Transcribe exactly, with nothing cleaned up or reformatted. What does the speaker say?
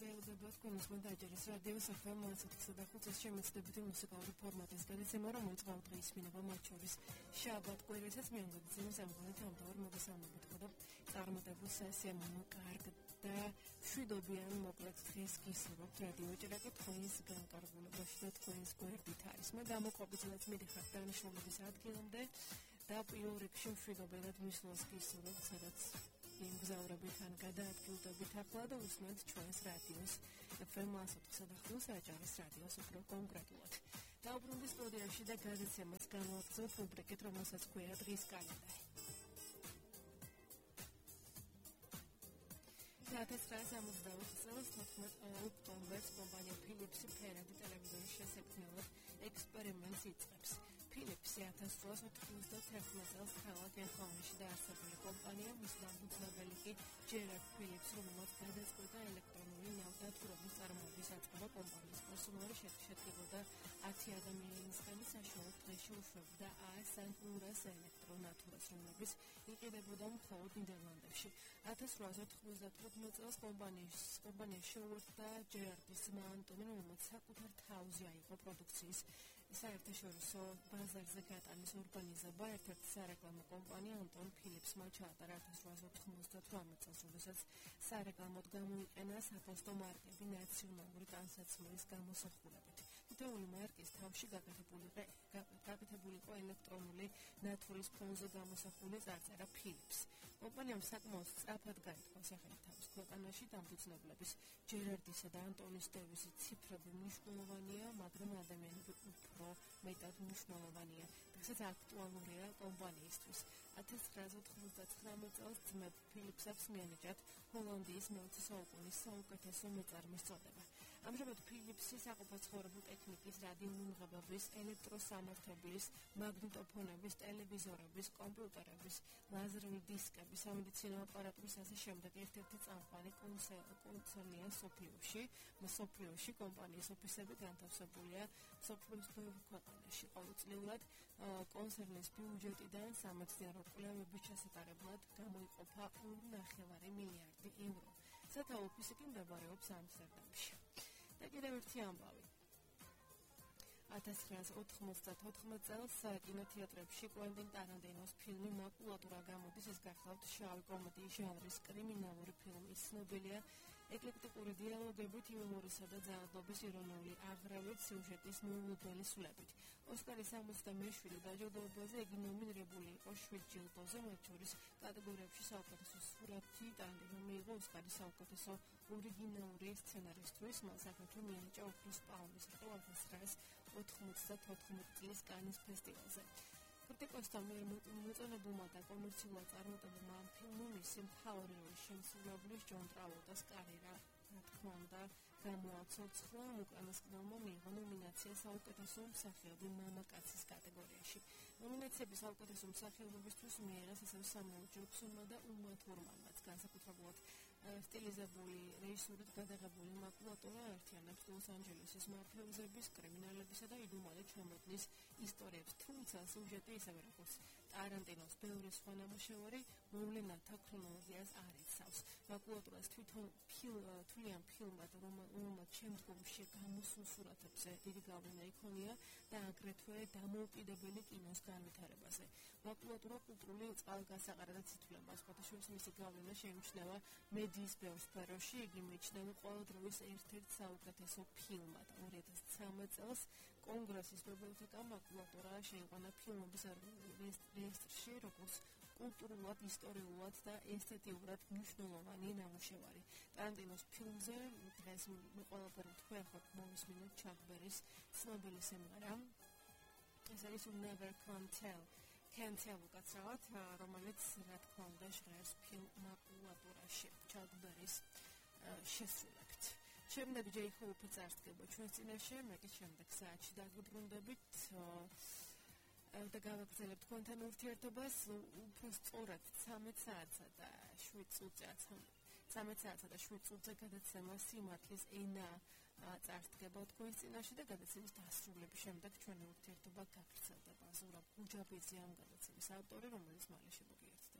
გეუბნებათ თქვენს მონტაჟერის რადიოს ეფ ემ ოცდაოთხ და ხუთის შემეცდებითი მუსიკალური ფორმატის გადაცემა, რომელიც ყოველდღე ისმინება მათ შორის შაბათ კვირასაც მიემგზავრება სამგონით ამბავარ მოგესალმებით ხოდა წარმატებულ სესია მომკარგ და შვიდობიან მოკლედ დღეს გისურვებთ რადიო ჭრაკი თქვენს განკარგულებაში და თქვენს გვერდით არის. მე გამოყოფილად მიდიხარ დანიშნულების ადგილამდე და პირველ რიგში შვიდობიანად მისვლას გისურვებთ, სადაც იმგზავრებით ან გადაადგილდებით ახლა და უსმენთ ჩვენს რადიოს ეფ ემ ოცდაოთხ და ხუთს აჭარის რადიოს უფრო კონკრეტულად. დაუბრუნდი სტუდიაში და გადაცემას განვაგრძობ რუბრიკით, რომელსაც ქვია დღის კალენდარი. ათასცხრაასამოცდაოთხ წელს თოთხმეტ ოქტომბერს კომპანია ფილიპსი ფერადი ტელევიზორის შესაქმნელად ექსპერიმენტს იწყებს. ფილიპსი ათას რვაას ოცდათერთმეტ წელს ქალაქ ელხაუნში დაარსებული კომპანია, მის დამფუძნებელი კი ჯერარდ ფილიპსი, რომელმაც გადაწყვიტა ელექტრონული ნავთობის წარმოების აწყობა კომპანიის პერსონალი შედგებოდა ათი ადამიანისგან, საშუალოდ დღეში უშვებდა ას ან ორას ელექტრონათურას, რომლებიც იყიდებოდა მხოლოდ ნიდერლანდებში. ათას რვაას ოთხმოცდათოთხმეტ წელს კომპანიის კომპანიაში შეუერთდა ჯერარდის ძმა ანტონი, რომელმაც საკუთარ თავზე აიღო პროდუქციის საერთაშორისო ბაზარზე გატანის ორგანიზება. ერთ-ერთი სარეკლამო კომპანია ანტონ ფილიპსმა ჩაატარა ათას რვაას ოთხმოცდათვრამეტ წელს, როდესაც სარეკლამოდ გამოიყენა საფოსტო მარკები ნაციონალური ტანსაცმლის გამოსახულებით. თითოეული მარკის თავში გაკეთებული იყო ელექტრონული ნათურის ფონზე გამოსახული წარწერა ფილიპს. კომპანიამ საკმაოდ სწრაფად გაითქვა სახელი თავის ქვეყანაში. დამფუძნებლების ჯერარდისა და ანტონის დევიზი ციფრები მნიშვნელოვანია, მაგრამ ადამიანები უფრო მეტად მნიშვნელოვანია. დღესაც აქტუალურია კომპანიისთვის. ათას ცხრაასა ოცდათვრამეტ წელს ძმებ ფილიპსაც მიენიჭათ ჰოლანდიის მეოცე საუკუნის საუკეთესო მეწარმის წოდება. ამჟამად ფილიპსი საყოფაცხოვრებო ტექნიკის, რადიომიმღებების, ელექტროსამართლების, მაგნიტოფონების, ტელევიზორების, კომპიუტერების, ლაზერული დისკების, სამედიცინო აპარატურის ასე შემდეგ ერთ-ერთი წამყვანი კონცერნია მსოფლიოში. მსოფლიოში კომპანიის ოფისები განთავსებულია მსოფლიოს ბევრ ქვეყანაში. ყოველწლიურად კონცერნის ბიუჯეტიდან სამეცნიერო კვლევების ჩასატარებლად გამოიყოფა ორი ნახევარი მილიარდი ევრო. სათავო ოფისი კი მდებარეობს ამსტერდამში. და კიდევ ერთი ამბავი. ათას ცხრაასა ოთხმოცდათოთხმეტ წელს კინოთეატრებში კვენტინ ტარანტინოს ფილმი მაკულატურა გამოდის. ეს გახლავთ შავი კომედიის ჟანრის კრიმინალური ფილმი. ცნობილია ეკლექტიკური დიალოგებით, იუმორისა და ძალადობის ირონიული აღრევით, სიუჟეტის მოულოდნელი სულებით. ოსკარის სამოცდამეშვიდე დაჯილდოებაზე იგი ნომინირებული იყო შვიდ ჯილდოზე, მათ შორის კატეგორიებში საუკეთესო სურათი. ტარანტინო მიიღო ოსკარის საუკეთესო ორიგინალური სცენარისთვის. მან საქართველოს მიენიჭა ოქროს პალმის რტო ათას ცხრაასა ოთხმოცდათოთხმეტ წლის კანის ფესტივალზე. კრიტიკოსთა მიერ მოწონებულმა და კომერციულად წარმატებულმა ამ ფილმმა მისი მთავარი როლის შემსრულებლის ჯონ ტრავოლტას კარიერა, რა თქმა უნდა, გამოაცოცხლა. უკანასკნელმა მიიღო ნომინაცია საუკეთესო მსახიობი მამაკაცის კატეგორიაში. ნომინაციები საუკეთესო მსახიობებისთვის მიიღეს ასევე სამუელ ჯექსონმა და უმა თურმანმაც. განსაკუთრებულად სტილიზებული, რეჟისურით გადაღებული მაკულატურა აერთიანებს ლოს-ანჯელესის მაფიოზების, კრიმინალებისა და იდუმალი ჩამოდნის ისტორიებს, თუმცა სიუჟეტი ისევე როგორც ტარანტინოს ბევრი სხვა ნამუშევარი მოვლენათა ქრონოლოგიას არ იცავს. მაკულატურას თვითონ თვლიან ფილმად, რომელმაც შემდგომში გამოსულ სურათებზე დიდი გავლენა იქონია და აგრეთვე დამოუკიდებელი კინოს განვითარებაზე. მაკულატურა კულტურული წყალგასაყარად ითვლება, სხვათაშორის მისი გავლენა შეიმჩნევა მედიის ბევრ სფეროში. იგი მიიჩნევა ყველა დროის ერთ-ერთ საუკეთესო ფილმად. ორი ათას ცხრამეტ წელს კონგრესის ბიბლიოთეკამ მაკულატურა შეიყვანა ფილმების რეესტრში როგორც კულტურულად, ისტორიულად და ესთეტიურად მნიშვნელოვანი ნამუშევარი. ტარანტინოს ფილმზე დღეს ყველაფერი თქვენ ხართ მოვისმინოთ ჩაკ ბერის ცნობილი სიმღერა. ეს არის Never Can Tell. Can Tell უკაცრავად, რომელიც რა თქმა უნდა ჟღერს ფილმ მაკულატურაში ჩაკ ბერის შესრულებით. შემდეგ ჯეი ჰოუპი წარსდგება ჩვენს წინაშე, მე კი შემდეგ საათში დაგვიბრუნდებით და გავაგრძელებთ თქვენთან ურთიერთობას. უფრო სწორად ცამეტ საათსა და შვიდ წუთზე ცამეტ საათსა და შვიდ წუთზე გადაცემა სიმართლის ენა წარსდგება თქვენს წინაშე და გადაცემის დასრულების შემდეგ ჩვენი ურთიერთობა გაგრძელდება. ზურაბ გუჯაბიძე ამ გადაცემის ავტორი, რომელიც მალე შემოგიერთდება.